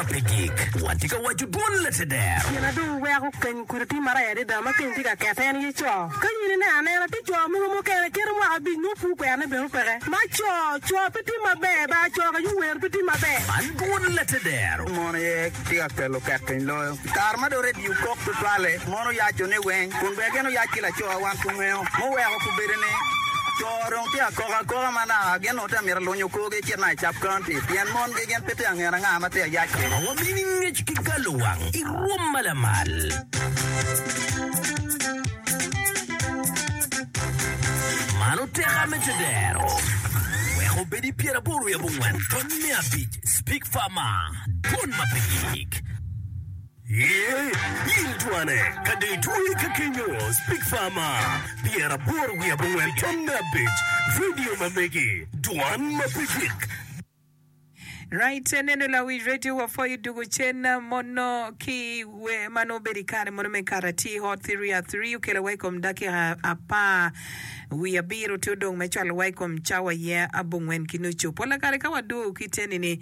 pe gik. Watye ka waco dwon lateder. Gin na dong weko keny kudi tye marac adada ma keny tye ka kete en aye co. Ka in ineno anena tye co mogo mukene kite mwaka abic nongo pur kwerone bene peke. Ma co, co pe tye maber ba, co ka yuwer pe tye maber. Man dwon lateder. Mon aye tye ka kelo ket piny loyo. I kare ma dong redio kok tutwalle, mon oyaco ni weng, kun bene gin oyac ki laco wan pe wangeyo. Muweko gubedo ni co dong tye ka kok akoka ma naka gin onongo tye ka mito lunyo korgi ecit naka i Cap County pien mongi gin pe tye ka ngene anga ma tye ka yac kwede. Ma wamini ngec ki galo wang i rwom ma lamal. Man oteka me tedero. Wek obed i pyeraboro wiye abongwen tony me abic Speak Farmer, Dwon ma pe gik. Ye, in twane, ka dong itwe ka kenyo, Speak Farmer, 84 tony me abic, Radio ma megi, dwan ma pe gik. Right, neno lawic radio wapwoyo dugo cen mono ki wer ma nongo obedo i kare mono me kato atir hot three a three okelo wa i kom dakika apar wiye abiro tye odong me cwalo wa i kom cawa ye abongwen ki nucu. Pola kare ka wadwogo ki teni ni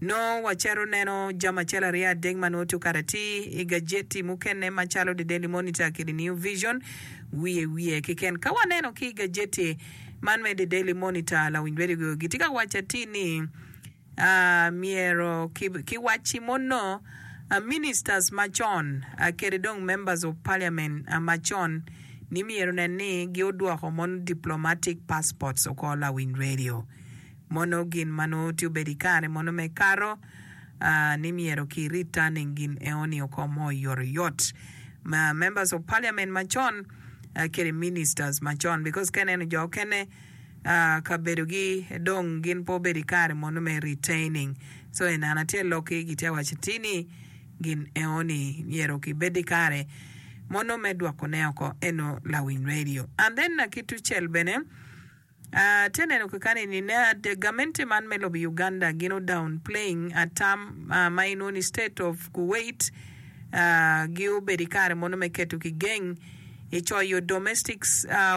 nongo wacito neno jami acel aryo adek ma nongo tye okato atir i gajeti mukene macalo The Daily Monitor kede New Vision wiye wiye keken. Ka waneno ki i gajeti man me The Daily Monitor, lawiny radio gitye ka waco atir ni myero kiwacci mono ministers macon kede dong members of parliament macon ni myero onen ni gi odwoko mono diplomatic passports oko lawiny radio mono gin ma nongo tye obedo ikare mono me kato ni myero ki returning gin eoni oko mo oyotoyot members of parliament macon kede ministers macon because ka ineno jo okene kabedogi dong gin pe obedo ikare mono me retaining so i neno acel lokki gitye ka waco atir ni gin eoni myero kibed ikare mono me dwokone oko eno lawiny radio and then ki tucel bene Atye neno kakani ni gamente man me lobo Uganda gin o down playing atam ma inwongo ni state of Kuwait gi obedo ikare mono me keto ki geng i coyo domestic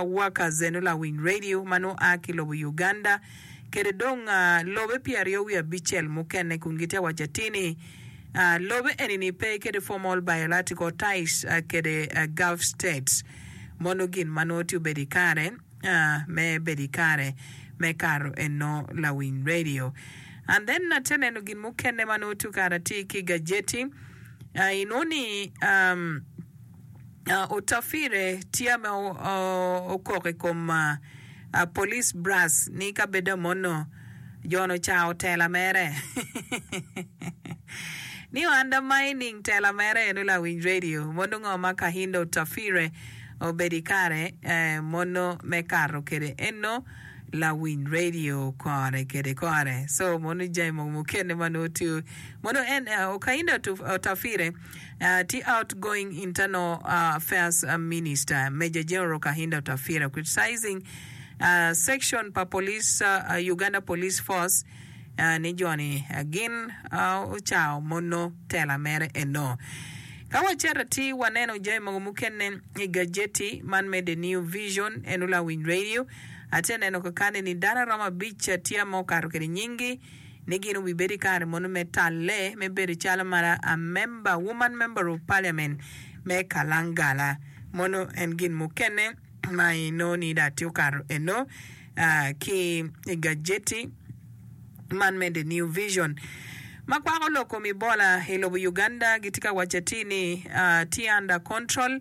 workers eno lawiny radio ma nongo a ki lobo Uganda kede dong lobe pyeraryo wiye abicel mukene kun gitye waco atir ni lobe eni ni pe kede formal biological ties kede Gulf states mono gin ma nongo tye obedo ikare me bedo i kare me kato eno lawiny radio. And then ate neno gin mukene ma nongo tye kara tye ki gajeti inongo ni um, uh, Otafire tye me okok i kom uh, police brass ni ka bedo mono jon ocao tela mere ni undermining tela mere eno lawiny radio mono ngo ma Kahinda Otafire Obedo i kare mono me kato kede eno lawiny radio kore kede kore. So mono jami mogo mukene ma nongo tye mono en Okainda Otafire tye outgoing internal affairs minister Major General Kahinda Otafire criticizing section pa police Uganda Police Force ni joni gin ocao mono tela mere eno. Ka wacito atir waneno jami mogo mukene i gajeti man me The New Vision eno lawiny radio. Atye neno kakane ni dano aromo abic tye ma okato kede nyinggi ni gin obibedo i kare mono me talle me bedo calo mara a member, woman member of parliament me Kalangala. Mono en gin mukene ma inongo ni dong atye okato eno ki i gajeti man me The New Vision ma kwako lok kom Ebola i lobo Uganda gitye ka waco atir ni tye under control.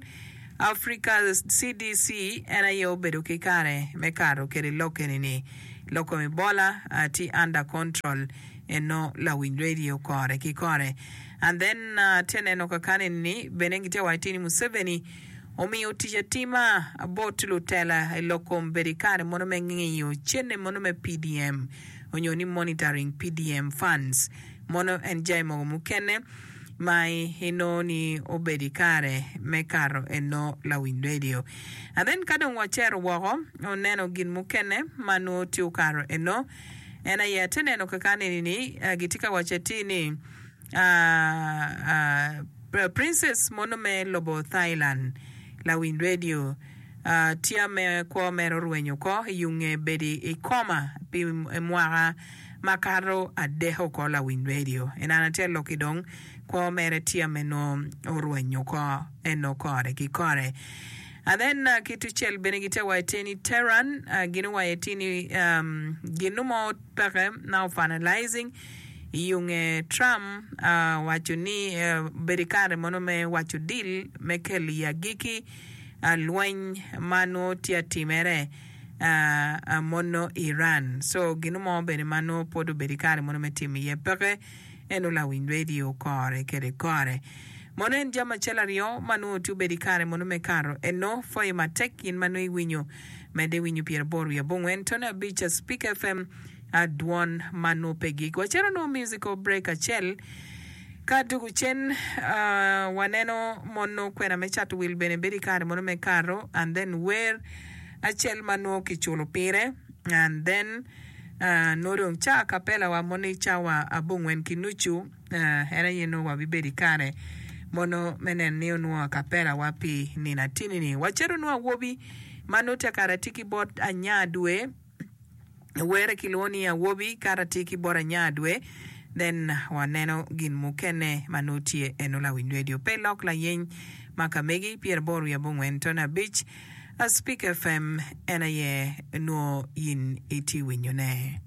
Africa CDC en aye obedo ki kare me kato kede lok eni ni lok kom Ebola tye under control eno lawiny radio kore ki kore. And then atye neno kakane ni bene gitye ka waco atir ni Museveni Omiyo tic atima bot lutela i lok kom bedo i kare mono me ngiyo cene mono me PDM onyo ni monitoring PDM funds mono en jami mogo mukene ma inongo ni obedo i kare me kato eno lawiny radio. And then ka dong wacito woko oneno gin mukene ma nongo tye okato eno en aye ate neno kaka neni ni gitye ka waco atir ni Princess mono me lobo Thailand lawiny radio tye me kwo mere orwenyo oko i yunge bedo i koma pi mwaka. Makato adek oko lawiny radio en an atye aloki dong kwo mere tye me nongo orwenyo oko eno kore ki kore. And then ki tucel bene gitye wa iteni Tehran gin owaco iti ni gin mo peke now finalizing iyunge Trump owaco ni bedo ikare mono me waco deal me kelo i agiki lweny ma nongo tye atimere mono Iran. So gin mo bene ma nongo pwod obedo ikare mono me timo iye peke eno lawiny radio kore kede kore. Mono en jami acel aryo ma nongo tye obedo ikare mono me kato eno pwoyo matek in ma nongo iwinyo medde iwinyo pyeraboro wiye abongwen tone abic Speak FM dwon ma nongo pe gik. Wacito nongo musical break acel ka dugu cen waneno mono kwena me cato wil bene bedo ikare mono me kato and then wer acel ma nongo kiculo pire and then nongo dong ca kapela wa mono i cawa abongwen ki nucu en aye nongo wabibedo i kare mono me neno ni onwongo akapela wa pi nino atini ni. Wacito nongo awobi ma nongo tye kare atye ki bot anya dwe. Were kilwongo ni awobi kato atir ki bot anya dwe then waneno gin mukene ma nongo tye eno lawiny radio pe lok layeny ma ka megi pyeraboro wiye abongwen tone abic Speak FM en aye nongo in itye winyo ne.